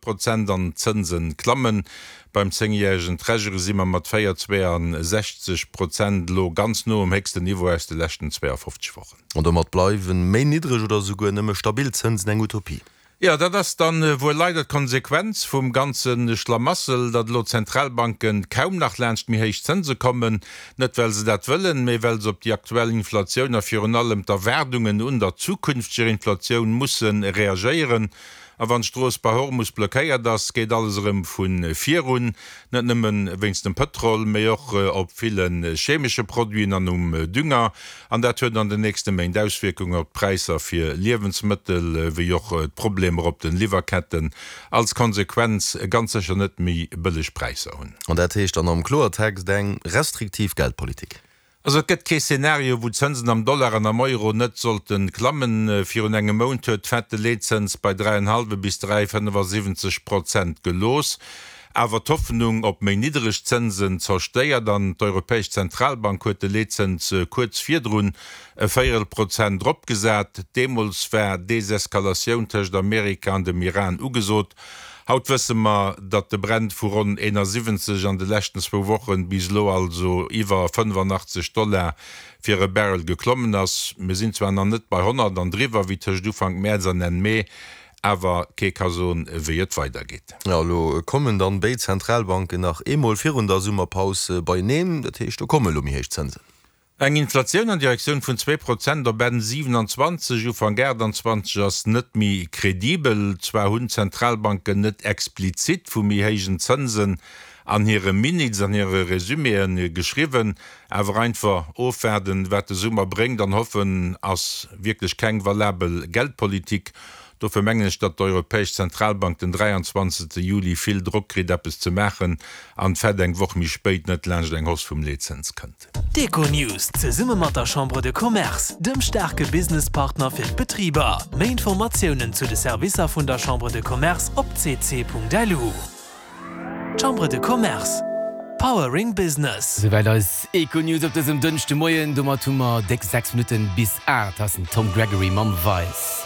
Prozent an d'Zënse klammen. Beim zéngjäregen Treasury si mer mat 4,62 Prozent elo ganz no um héchsten Niveau aus de leschten 52 Wochen. An domat bleiwen méi niddreg oder esouguer nëmme stabil Zënsen eng Utopie. Jo, dat ass dann wuel leider d'Konsequenz vum ganze Schlamassel, datt elo d'Zentralbanken kaum nach laanscht méi héich Zënse kommen. Net well se dat wëllen, mee well se op déi aktuell Inflatioun a virun allem d'Erwaardungen un der zukünfteger Inflatioun musse reagéieren. A wann d'Strooss bei Hormus blockéiert ass, geet alles erëm vu vir un. Net nëmme wéinst dem Pëtrol, mee och op ville chemesche Produiten an um Dünger. An dat huet an den nächste Méint Auswierkungen op d'Präisser fir Liewensmëttel, wéi och d'Problemer op den Liwwerketten als Konsequenz ganz sécher net méi bëlleg Präisser hunn. An dat heescht dann am Kloertext eng restriktiv Geldpolitik. Also et gëtt kee Szenario, wou d'Zënsen am Dollar an am Euro net sollte klammen. Virun engem Mount huet d'Fed de Leetzëns bei 3,5 bis 3,75 Prozent gelooss, awer d'Hoffnung op méi niddereg Zënsen zerstéiert an d'Europäesch Zentralbank huet de Leetzëns kuerz virdrun e Véierel Prozent eropgesat. Deemools war Deseskalatioun tëscht Amerika an dem Iran ugesot. Haut wësse mer, datt de Brent vu ronn 71 an de leschten zwou Wochen bis elo also iwwer 85 Dollar fir e Barrel geklommen ass. Mir sinn zwar nach net bei 100 an driwwer wéi tëscht Ufank Mäerz an Enn Mee, awer kee ka soen, wéi et weidergeet. Jo, elo kommen dann béid Zentralbanken nach eemol virun der Summerpaus beieneen. Dat heescht, do komme elo méi héich Zënsen. Eng Inflatioun an Direktioun vun 2% op Enn 27, Ufank 28 ass net méi kredibel. Zwar hunn d'Zentralbanken net explizit vu méi héijen Zënsen an hire Minutes, an hire Resuméen geschriwwen, awer einfach ofwaarden, wat de Summer bréngt an hoffen, ass wierklech keng valabel Geldpolitik. Dofir mengen ech, datt d'Europäesch Zentralbank den 23. Juli vill Drock kritt, eppes ze maachen an d'Fed eng Woch méi spéit net laanscht eng Hausse vum Leetzëns kënnt. D'Econews zesumme mat der Chambre de Commerce, dem staarke Businesspartner fir d'Betriber. Méi Informatiounen zu de Servicer vun der Chambre de Commerce op cc.lu. Chambre de Commerce, Powering Business. Souwäit eis Econews op dësem Dënschdemoien. Domat hu mer déck 6 Minutten bis 8. Hei ass den Tom Gregory mam Vice.